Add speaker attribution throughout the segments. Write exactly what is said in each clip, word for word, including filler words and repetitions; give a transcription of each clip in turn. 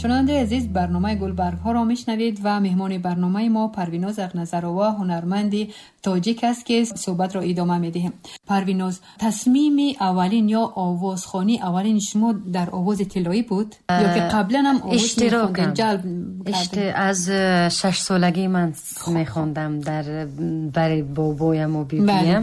Speaker 1: Шунавандаи азиз, барномаи Гулбаргҳоро мешунавед ва меҳмони барномаи мо Парвиноз Ақназарова, ҳунарманди тоҷик аст, ки суҳбатро идома медиҳем. Парвиноз, тасмими аввалин ё овозхонии аввалини шумо дар Овози тиллоӣ буд ё ки қаблан ҳам овоз мехондед, ҷалб
Speaker 2: кардед? Аз шаш солагӣ ман мехондам дар бари бобоям ва бибиям.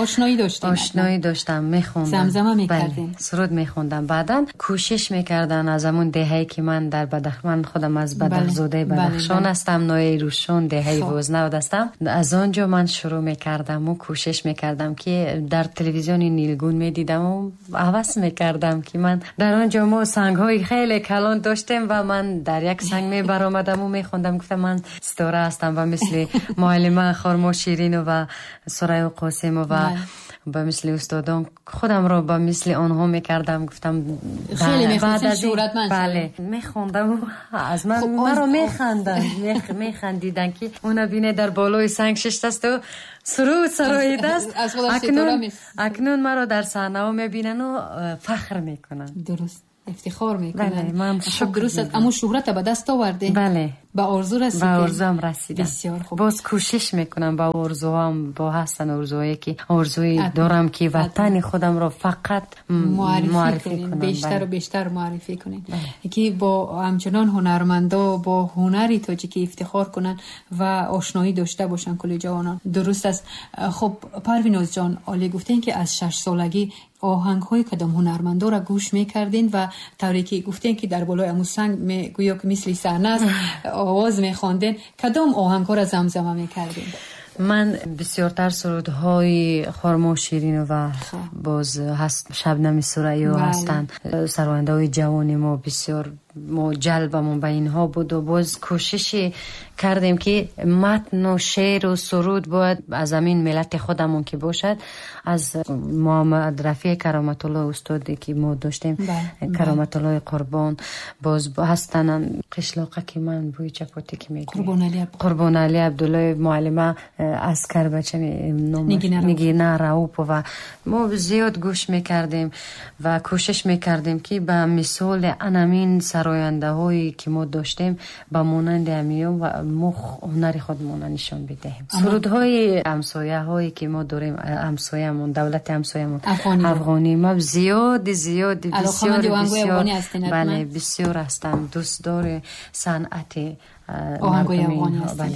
Speaker 1: Ошноӣ доштем.
Speaker 2: Ошноӣ доштам, мехондам.
Speaker 1: Замзама мекардем.
Speaker 2: Суруд мехондам. Баъдан кӯшиш мекардан аз ҳамон деҳае ки ман дар Бадахшон, худам аз Бадахшзодаи Бадахшон ҳастам, ноҳияи Рӯшон, деҳаи Вознавд ҳастам. Аз он ҷо ман шурӯъ мекардам ва кӯшиш мекардам, ки дар телевизиони Нилгун медидам ва ҳавас мекардам, ки ман дар он ҷо мо сангҳои хеле калон доштем ва ман дар як санг мебаромадам ва мехондам, гуфтам ман ситора ҳастам ва мисли муаллима Хурмо Ширинова, Сурайё Қосимова, ба мисли устодон худамро ба мисли онҳо мекардам, гуфтам
Speaker 1: хеле мехостед шӯҳратманд.
Speaker 2: Бале, мехондам, аз ман маро механданд, механдиданд, ки уна бине дар болои санг шиштаст ва суруд сароидааст. Акнун акнун маро дар саҳнаҳо мебинанд ва фахр мекунанд.
Speaker 1: Дуруст, ифтихор мекунанд. Ман дуруст аст, аммо шӯҳрата ба даст овардед.
Speaker 2: Бале,
Speaker 1: ба орзу расидед.
Speaker 2: Ба орзуам расидам.
Speaker 1: Бисёр хуб.
Speaker 2: Боз кӯшиш мекунам, ба орзуам бо ҳастан орзуое ки орзуи дорам, ки ватани худамро фақат муаррифӣ кунам,
Speaker 1: бештар ва бештар муаррифӣ кунем, ки бо ҳамчунон ҳунармандо бо ҳунари тоҷикӣ ифтихор кунанд ва ошноӣ дошта бошанд кулли ҷавонон. Дуруст аст. Хуб, Парвиноз ҷон, олӣ гуфтем, ки аз шаш солагӣ оҳангҳои кадом ҳунармандоро гӯш мекардин ва тавре ки гуфтем, ки дар болои аму санг гӯё ки мисли саҳна аст, овоз мехонден, кадом оҳангҳоро замзама мекардин?
Speaker 2: Ман бисёртар сурудҳои Хурмо Ширинова, боз ҳаст Шабнами Сурайё ҳастанд. Сарояндаҳои ҷавони мо бисёр мо ҷалбамон ба инҳо буд ва боз кӯшише кардем, ки матну шеъру суруд бояд аз ҳамин миллати худамон ки бошад, аз Муҳаммад Рафеъ Кароматулло устоде ки мо доштем, Кароматуллои Қурбон, боз ҳастанд қишлоқа ки ман бӯи чапотӣ ки мегӯям, Қурбоналӣ Абдуллоев, муаллима аз Карбача Нигина Раупова. Мо зиёд гӯш мекардем ва кӯшиш мекардем, ки ба мисоли анамин сарояндаҳое ки мо доштем, ба монанди ҳамиён ва мо ҳунари худмонро нишон бидиҳем. Сурудҳои ҳамсояҳое ки мо дорем, ҳамсоямон, давлати ҳамсоямон афғонӣ, ма зиёди зиёди бисёр бисёр, бале, бисёр ҳастам дӯстдори санъати
Speaker 1: оҳангҳои афғонӣ ҳастем.